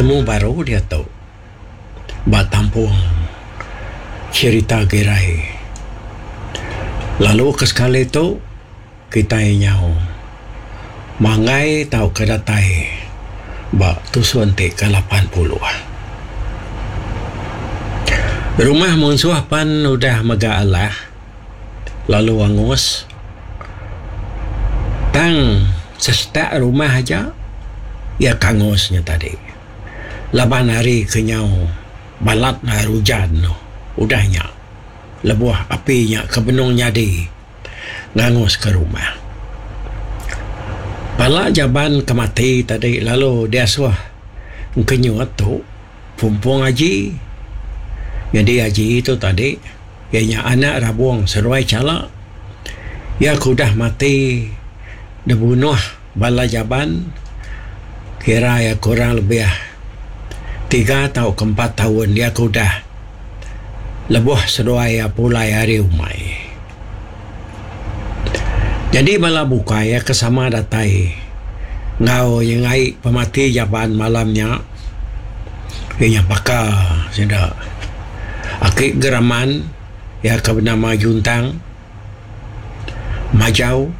Betemu baru diatu ba tampung cherita Girai. Lalu ke sekali tu kitai nyau manggai tauka datai ba tusun ti ke 80. Rumah munsuh pan udah mega alah lalu angus tang sesetak rumah aja iya ke angus nya tadi laban hari ke nyau balat hari ujan udah nya lebuh api nya ke benung nyadi nganguska rumah. Pala jaban ke mati tadi lalu diasuh engkenyut tu Pumpung Aji. Nyadi Aji tu tadi iya nya anak Rabong seduai Chala. Iya ke udah mati dibunuh bala jaban kira iya kurang lebih tiga tauka empat taun iya ke udah lebuh seduai iya pulai ari umai. Nyadi bala bukai iya ke sama datai enggau nyengai pemati jaban malam nya iya nya baka sida aki Geraman iya ke benama Juntang, Majau,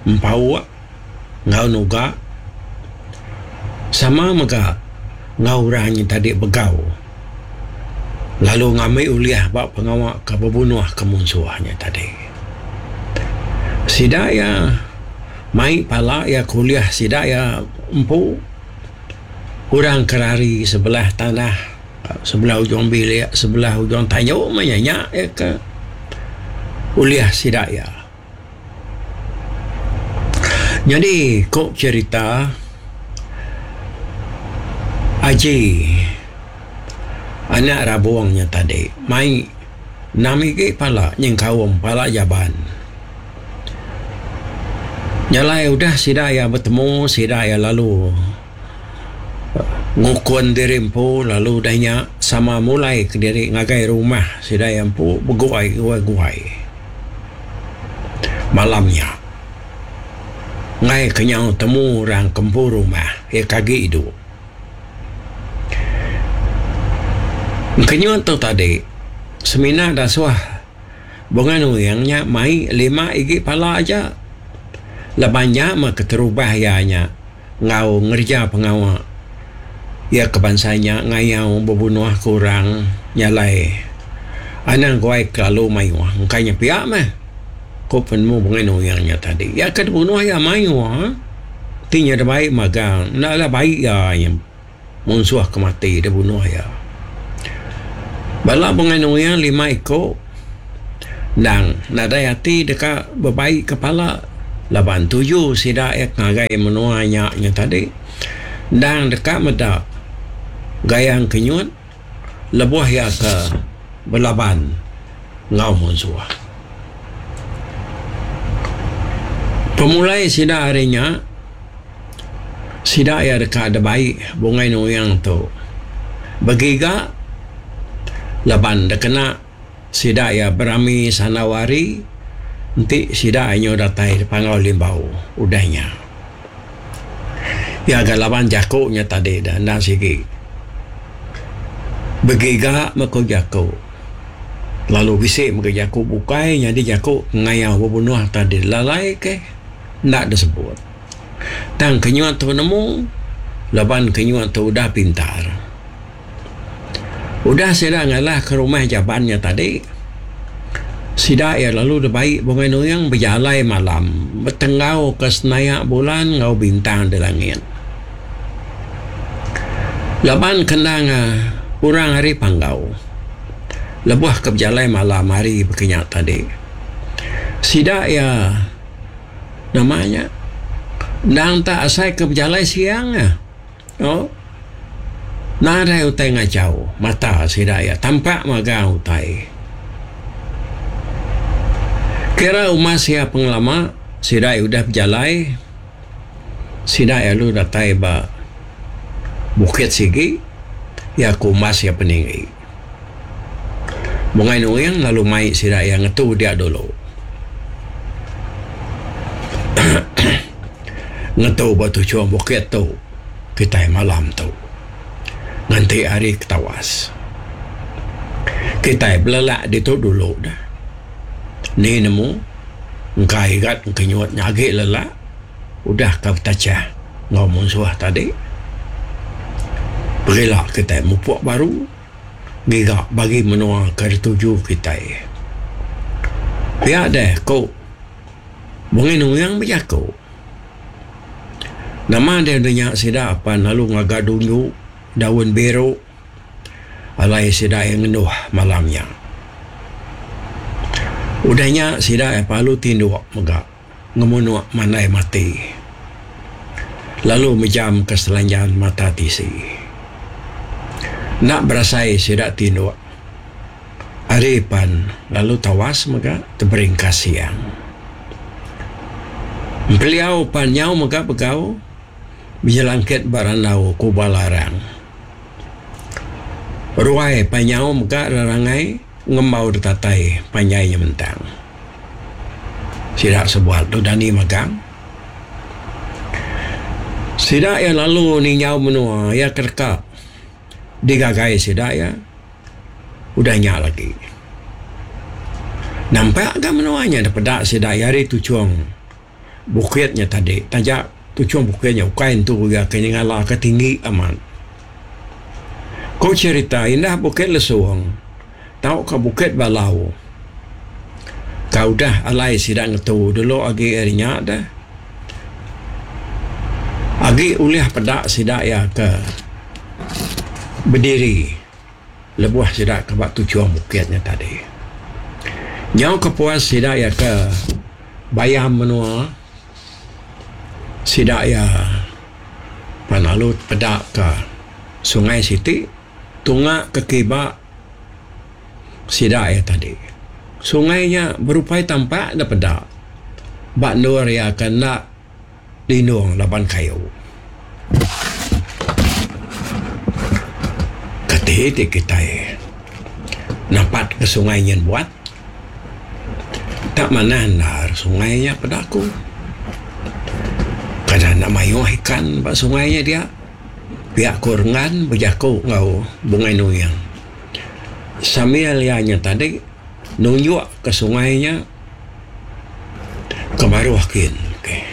Empauk enggau Nuga sama mega enggau orang nya tadi begau lalu ngambi ulih ba pengawa ke bebunuh ke munsuh nya tadi. Sida iya mai pala iya ke ulih sida iya empu orang ke rari sebelah tanah sebelah ujung bilik sebelah ujung tanju meh nya nya iya ke ulih sida iya. Nyadi ku cherita Aji anak Rabong nya tadi mai enam igi pala nyengkaum pala Jaban. Nya alai udah sida iya betemu sida iya lalu ngukun diri empu lalu udah nya sama mulai kediri ngagai rumah sida iya empu beguai guai. Malam nya, enggai ke nyau temu orang ke empu rumah iya ke agi idup. Engkenyut tu tadi semina dasuh Bunga Nuing nya mai lima igi pala aja laban nya meh keterubah iya nya. Enggau ngereja pengawa iya ke bansa nya ngayau bebunuh ke orang nyalai anang guai kelalu mayuh engka nya pia meh ku penemu Bungai Nuing nya tadi. Iya ke dibunuh iya mayuh ti nya dibai magang enda lah bai iya nya. Munsuh ke mati dibunuh iya. Bala Bungai Nuing lima iku endang nadai ati deka bebai kepala laban tuju sida iya ke ngagai menua nya nya tadi endang deka meda gayang kenyut lebuh iya ke belaban enggau munsuh. Pemulai sida ari nya. Sida iya deka dibai Bungai Nuing tu begiga laban dikena sida iya berami sandau hari enti sida iya nyau datai di Panggau Limbau udah nya. Iya ga laban jaku nya tadi da enda sigi begiga meh ku jaku lalu bisi mega jaku bukai nyadi jaku ngayau bebunuh tadi lalai ke enda disebut. Tang kenyut tu nemu laban kenyut tu udah pintar. Udah sida ngalahka rumah jaban nya tadi, sida iya lalu dibai Bungai Nuing bejalai malam betenggauka senayak bulan enggau bintang di langit. Laban ke endang orang ari Panggau lebuh ke bejalai malam hari baka nya tadi, sida iya. Nama nya endang tak asai ke bejalai siang ah. Oh. Nadai utai ngachau mata sida iya tampak magang utai. Kira umas iya pengelama sida iya udah bejalai sida iya lalu datai ba bukit sigi iya ke umas iya peninggi. Bungai Nuing lalu mai sida iya ngetu dia dulu. Ngetu ba tuchung bukit tu kitai malam tu. Nganti hari ke tawas. Kitai belelak ditu dulu dah. Ni nemu engka igat engkenyut nya agi lelak udah ka betachah enggau munsuh tadi. Pegila kitai mupuk baru ngiga bagi menua ke dituju kitai. Pia deh ku Bungai Nuing bejaku. Nama deh udah nya sida apan lalu ngaga dunju daun biru alai sida iya ngenduh malam nya. Udah nya sida iya lalu tinduk mega ngemunuk mandai mati lalu mejamka selanjan mata tisi. Enda berasai sida tinduk. Ari pan lalu tawas mega teberingkas siang. Empeliau pan nyau mega begau bejelangkit ba randau kuba larang. Ruai pan nyau mega rerangai ngembau ditatai panjai nyementang. Sida sebuat tu dani magang. Sida iya lalu ninjau menua iya ke deka digagai sida iya. Udah nya lagi. Nampak ga menua nya dipeda sida iya ari tuchung bukit nya tadi taja tuchung bukit nya ukai entu iya ke nyengala ke tinggi amat. Ku cherita indah Bukit Lesung tauka Bukit Balau ka udah alai sida ngetu dulu agi ari nya deh agi ulih peda sida iya ke bediri. Lebuh sida ke ba tuchung bukit nya tadi. Nyau ke puas sida iya ke bayam menua, sida iya pan lalu tepeda ka sungai siti tunga ke kiba sida iya tadi. Sungai nya berupai tampak da peda ba endur iya ke enda lindung laban kayu. Kati ti kitai napat ke sungai nyin buat tak manah endar sungai nya peda aku. Kada enda mayuh ikan ba sungai nya dia pia ku Renggan bejaku enggau Bungai Nuing. Sambil iya nya tadi nunjuk ke sungai nya. Ke baruh kin okay.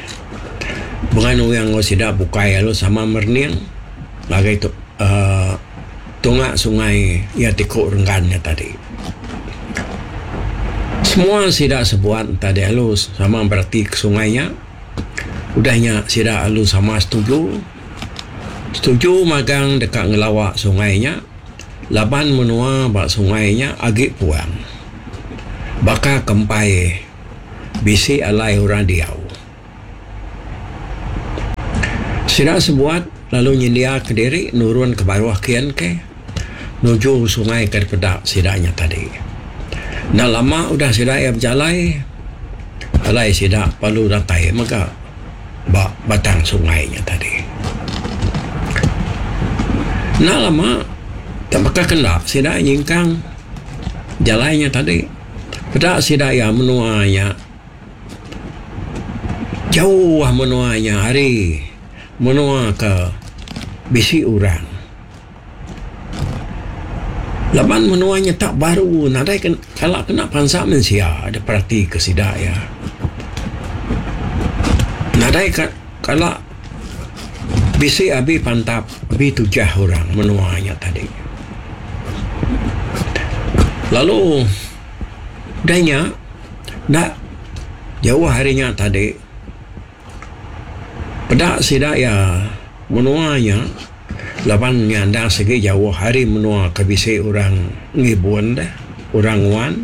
Bengan orang enggau sida bukai lalu sama merening ngagai tu uhh tunga sungai iya ti ku renggan nya tadi. Semua sida sebuat tadi lalu sama berati ke sungai nya. Udah nya sida lalu sama setuju. Setuju magang deka ngelawa sungai nya laban menua ba sungai nya agi puang. Baka ke empai bisi alai orang diau. Sida sebuat lalu nyendiaka diri nurun ke baruh kin ke nuju sungai ke dipeda sida nya tadi. Enda lama udah sida iya bejalai, alai sida perlu datai mega ba batang sungai nya tadi. Enda lama tak baka ke enda sida nyingkang. Jalai nya tadi peda sida iya menua nya jauh menua nya ari menua ke bisi orang. Laban menua nya tak baru nadai kala kena pansa mensia da perati ke sida iya. Nadai kala bisi abi pantap abi tujah orang menua nya tadi. Lalu udah nya enda jauh ari nya tadi peda sida iya menua nya laban nya endang sigi jauh ari menua ke bisi orang ngibun deh orang nguan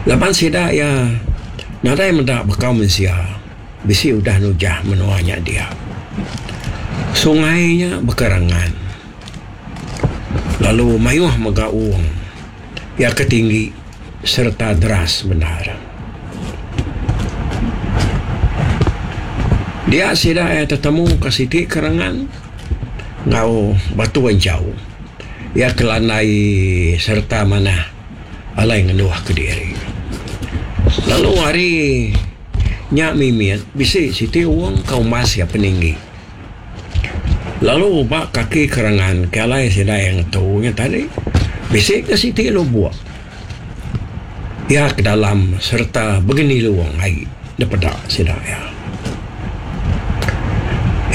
laban sida iya nadai meda baka mensia bisi udah nujah menua nya dia. Sungai nya bekerangan. Lalu mayuh mega wong iya ke tinggi sereta deras bendar. Dia sida iya tetemu ke siti kerangan enggau batu enchau iya ke landai sereta manah alai ngenduh kediri. Lalu ari nya mimit bisi siti wong ke umbas iya peninggi. Lalu ba kaki kerangan ke alai sida iya ngetu nya tadi bisi ke siti lubok iya ke dalam sereta begenilung ai dipeda sida iya.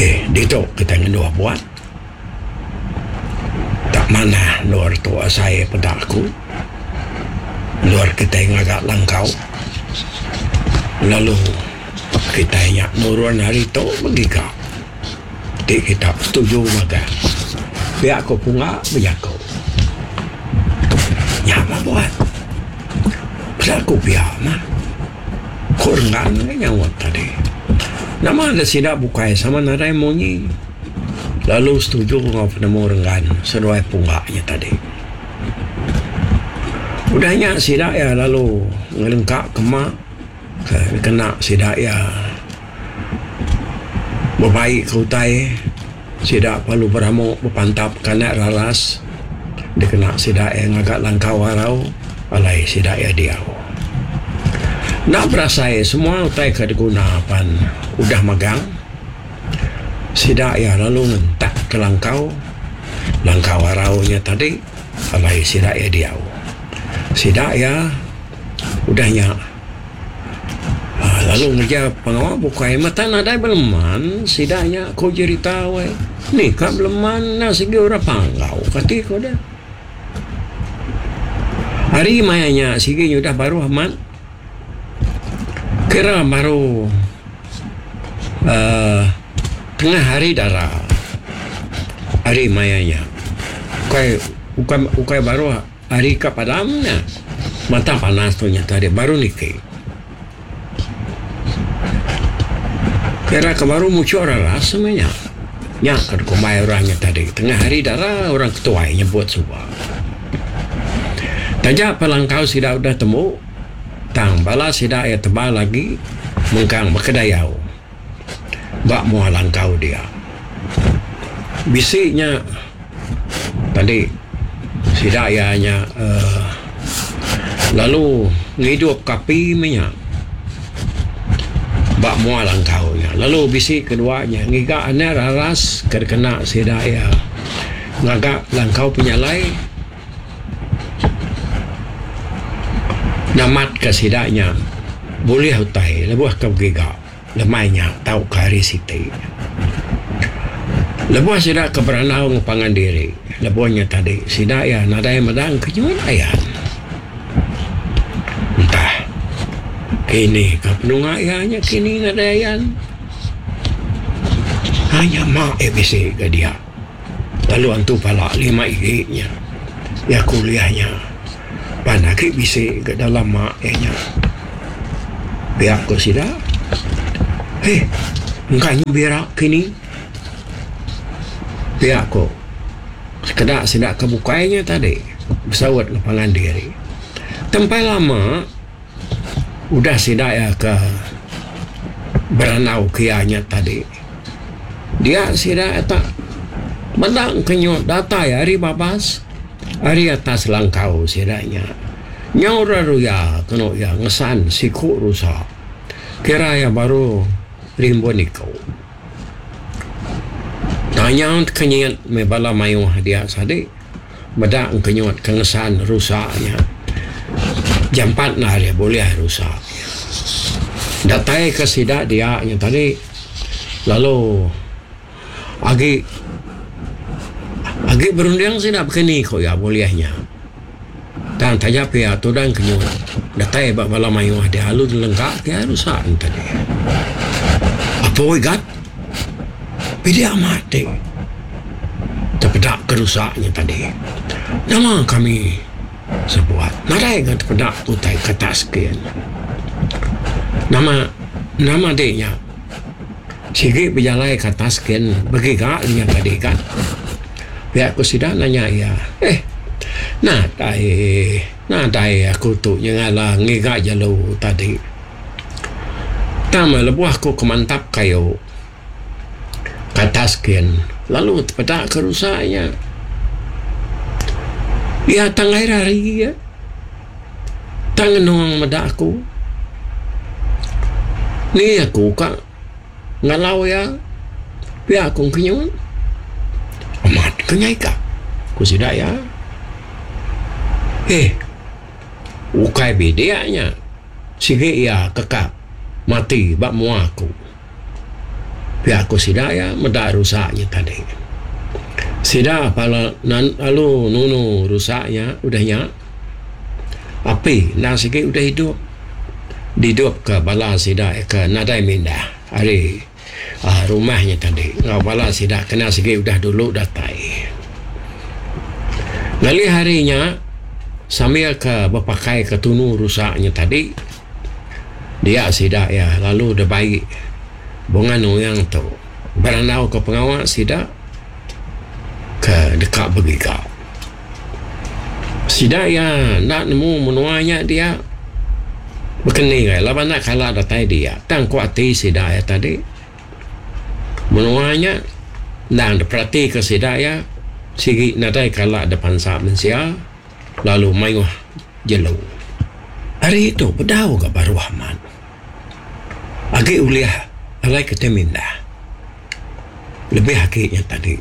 Eh ditu kitai ngenduh buat tak manah endur tu asai peda aku endur kitai ngaga langkau lalu kitai nya nurun ari tu begiga. Ti kita setuju magang. Pia ko Punga bejaku. Nya mah buat. Peda ku pia mah. Ku Renggan meh nyaut tadi. Nama da sida bukai sama nadai munyi. Lalu setuju enggau penemu Renggan seduai Punga nya tadi. Udah nya sida iya lalu ngelengka ke ma ke kena sida iya. Bebai ke utai sida perlu beramu bepantap ke anak raras dikena sida iya ngaga langkau arau alai sida iya diau. Enda berasai semua utai ke diguna pan udah megang sida iya lalu ngentak ke langkau, langkau arau nya tadi alai sida iya diau. Sida iya udah nya. Lalu ngereja pengawa bukai mata nadai beleman sida nya ku jerita weh. Ni ka beleman enda sigi orang panggau kati ku deh. Hari maya nya sigi nyudah baruh amat kira baru uhh tengah hari dara hari maya nya ukai ukai ukai baruh. Ari ka padam nya, mata panas tu nyata dia baru niki. Kira ke baru muchuk raras meh nya. Nya ke dikumbai orang nya tadi tengah hari dara orang ketuai nyebut suba. Taja pa langkau sida udah tembu tang bala sida iya tebal agi mengkang bekedayau ba mua langkau dia. Bisi nya tadi sida iya nya uhh lalu ngidup ka api meh nya ba mua langkau nya. Lalu bisi kedua nya ngiga anak raras ke dikena sida iya ngaga langkau penyalai namat ka sida nya bulih utai lebuh ke begiga. Lemai nya tauka hari siti. Lebuh sida ke berandau enggau pangan diri lebuh nya tadi sida iya nadai meda engkenyut ayan. Entah kini ka penunga iya nya kini nadai ayan. Hanya ma iya bisi ga dia. Lalu antu pala lima igi nya iya kuliah nya pan agi bisi ga dalam ma iya nya. Pia ku sida, Eh engka nyu bira kini. Pia ku sekeda sida ke bukai nya tadi besaut enggau pangan diri. Tempai lama. Udah sida iya ke berandau ke iya nya tadi, dia sida iya tak meda engkenyut datai ari babas ari atas langkau sida nya. Nyau ra ruya kenu iya ngesan siku rusa kira iya baru rimbun iku. Tanya tekenyit meh bala mayuh dia sadi. Meda engkenyut ke ngesan rusa nya. Jampat enda deh bulih rusa nya. Datai ke sida dia nya tadi lalu agi agi berunding sida bekeni ku iya bulih nya. Tang taja pia tudah engkenyut datai ba bala mayuh dia lalu dilengka ke iya rusa nya tadi. Apo igat. Pidik amat ti tepeda ke rusa nya tadi. Nama kami sebuat nadai ga tepeda utai ke atas kin. Nama nama di nya sigi bejalai ke atas kin begiga nya tadi ka. Pia ku sida nanya iya. Eh nadai nadai aku tu nyengala ngiga jelu tadi. Tang meh lebuh aku ke mantap kayu ke atas kin lalu tepeda ke rusa nya. Iya tanggai rari iya. Tang ngenung meda aku. Ni aku ka ngalau iya pia ku engkenyut. Ke nyai ka, ku sida iya. Eh, ukai bidik nya. Sigi iya kekap mati ba mua aku. Pia ku sida iya meda rusa nya tadi. Sida pala lalu nunu rusa nya udah nya. Api endang sigi udah idup. Didupka bala sida ke nadai mindah ari uhh rumah nya tadi enggau bala sida kena sigi udah dulu datai. Ngalih hari nya sambil ke bepakai ke tunu rusa nya tadi dia sida iya lalu dibai Bunga Nuyang tu berandau ke pengawa sida ke deka begiga. Sida iya enda nemu menua nya dia bekeni ai laban enda kala datai dia tang ku ati sida iya tadi menua nya endang diperatika sida iya sigi nadai kala da pansa mensia lalu mayuh jelu. Ari tu bedau ga baruh amat agi ulih alai kitai mindah. Lebih agi nya tadi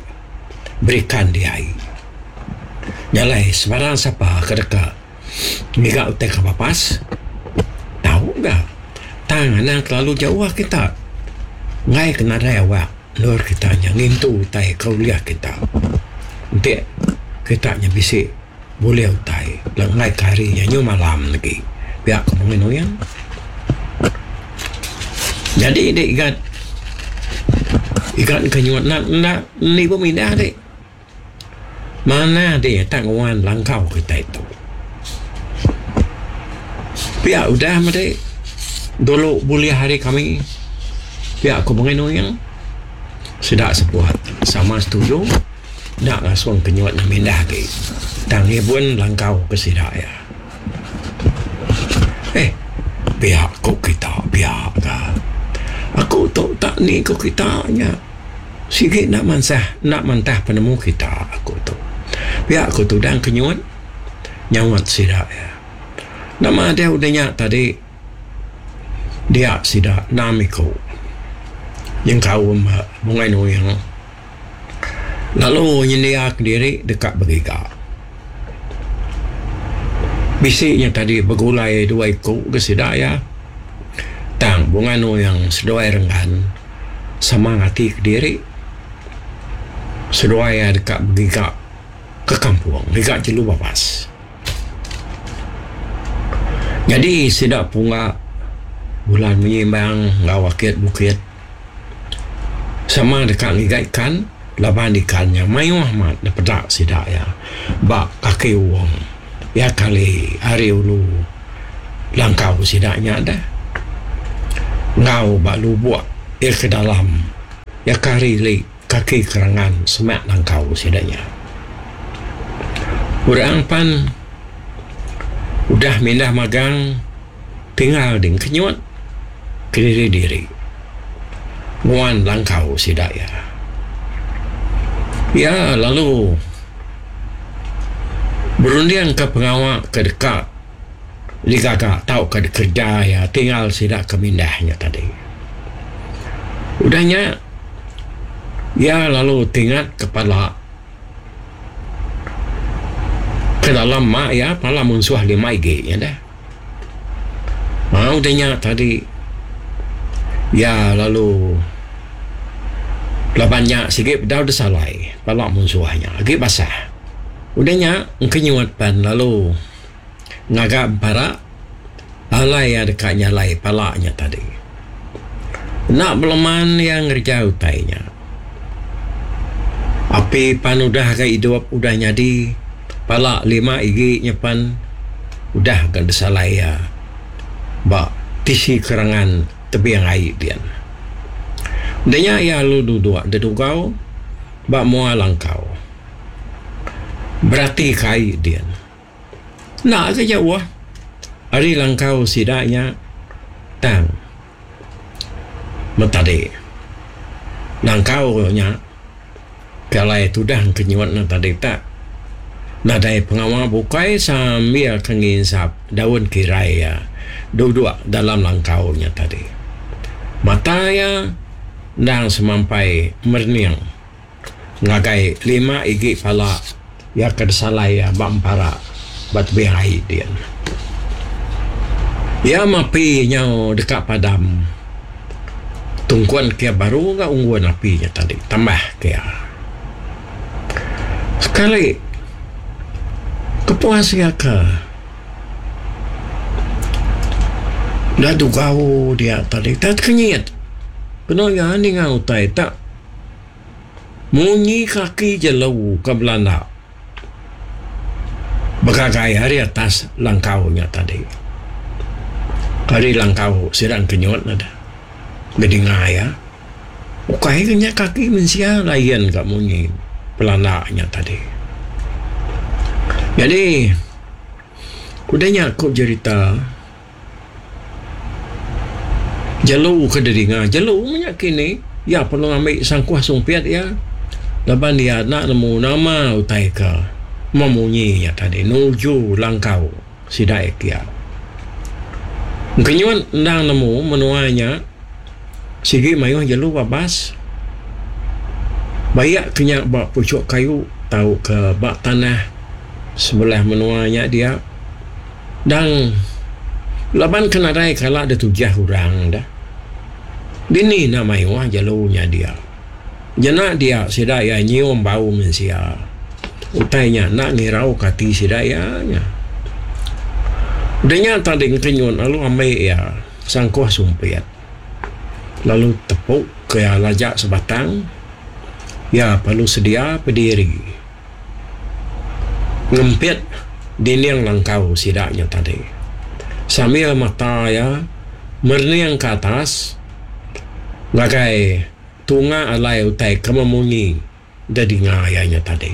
berikan di ai. Nya alai sebarang sapa ke deka ngiga utai ke bapas tau ga tang anang kelalu jauh kita enggai ke nadai awak endur kita nya ngintu utai ke ulih kita. Enti kita nya bisi Bulih utai lenggai ke hari nya nyu malam legi pia ku Mungin Uyang. Nyadi di igat igat ke nyuat enda enda nibu mindah di. Manah di tak nguan langkau kitai tu. Pia udah meh di dulu bulih ari kami pia ku Mungin Uyang. Sida sebuat sama setuju. Enda ngasung ke nyuat nya mindah agi tang ngibun langkau ke sida iya. Eh pia ku kita pia ka. Aku tu tak ni ku kita nya sigi enda mansah enda mantah penemu kita aku tu. Pia ku tudang ke nyuat nyaut sida iya. Nama deh udah nya tadi dia sida enam iku nyengkaum Bungai Nuing. Lalu nyendia kediri deka begiga. Bisi nya tadi begulai dua iku ke sida iya. Tang Bunga Nuyang seduai Renggan sama ngati kediri. Seduai iya deka begiga ke kampung ngiga jelu babas. Nyadi sida pungga bulan menyimbang enggau akit bukit. Sama deka ngiga ikan laban ikan nya mayuh amat dipeda sida iya ba kaki wong iya kali ari ulu langkau sida nya deh enggau ba lubok iya ke dalam iya ke ari ili kaki kerangan semak langkau sida nya. Orang pan udah mindah magang. Tinggal ding kenyut kediri diri nguan langkau sida iya. Iya lalu berundingka pengawa ke deka digaga tauka dikereja iya tinggal sida ke mindah nya tadi. Udah nya iya lalu tingat kepala ke dalam ma iya pala munsuh lima igi nya deh. Mau udah nya tadi iya lalu laban nya sigi bedau deh salai pala munsuh nya agi basah. Udah nya engkenyut pan lalu ngaga empara alai iya deka nyalai pala nya tadi. Enda beleman iya ngereja utai nya. Api pan udah ga idup udah nyadi pala lima igi nya pan udah ga disalai iya ba tisi kerangan tebing ai din. Udah nya iya lalu duduk dedugau ba mua langkau berati ka ai din. Enda ga jauh ari langkau sida nya tang. Metadi nangkau nya ke alai tudah ke nyuat ne tadi tak nadai pengawa bukai sambil ke nginsap daun kirai iya duduk dalam langkau nya tadi. Mata iya endang semampai merening. Ngagai lima igi pala iya ke disalai iya ba empara ba tebing ai din. Iya mapi nyau deka padam tungkun ke iya baru ga unggun api nya tadi tambah ke iya. Sekali kepuas iya ke enda dugau dia tadi tak tekenyit kenu iya ninga utai tak. Munyi kaki jelu ke belanda begagai ari atas langkau nya tadi. Ari langkau sida engkenyut ne deh bedinga iya. Ukai ke nya kaki mensia lain ka munyi belanda nya tadi. Nyadi udah nya ku jerita. Jelu ke didinga jelu menya kini iya perlu ngambi sangkuh sumpit iya laban iya enda nemu nama utai ke memunyi nya tadi nuju langkau sida iya kia. Engkenyut endang nemu menua nya sigi mayuh jelu babas baik ke nya ba puchuk kayu tauka ba tanah sebelah menua nya dia. Dang laban ke nadai kala ditujah orang dah. Dini enda mayuh jelu nya dia. Jena dia sida iya nyium bau mensia. Utai nya enda ngirauka ati sida iya nya. Udah nya tadi engkenyut lalu ambi iya sangkuh sumpit lalu tepu ke iya laja sebatang iya perlu sedia pediri. Ngempit dinding langkau sida nya tadi. Sambil mata iya merening ke atas ngagai tunga alai utai ke memunyi dedinga iya nya tadi.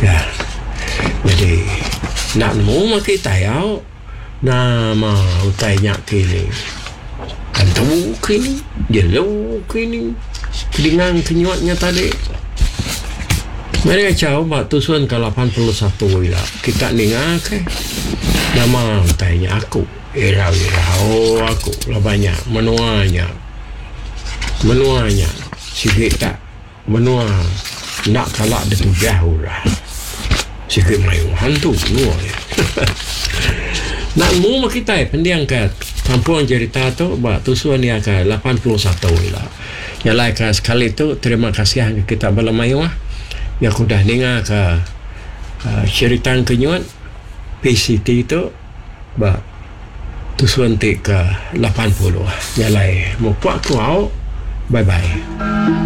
Ya. Nyadi enda nemu meh kitai au nama utai nya kini. Antu kini, jelu kini, kedinga kenyut nya tadi. Meri achau ba tusun ke 81 ila kita ninga ke nama utai nya aku irau-irau aku laban nya menua nya. Menua nya sigi tak Menua enda kala ditujah orang. Sigi mayuh hantu menua iya. Enda nemu meh kitai pending ka kampung jerita tu ba tusun iya ke 81 ila. Nya alai ka sekali tu terima kasih ngagai kita bala mayuh iya ke udah ninga ka cherita engkenyut PCT tu ba tusun ti ke 80. Nya alai mupuk ku au. Bye bye.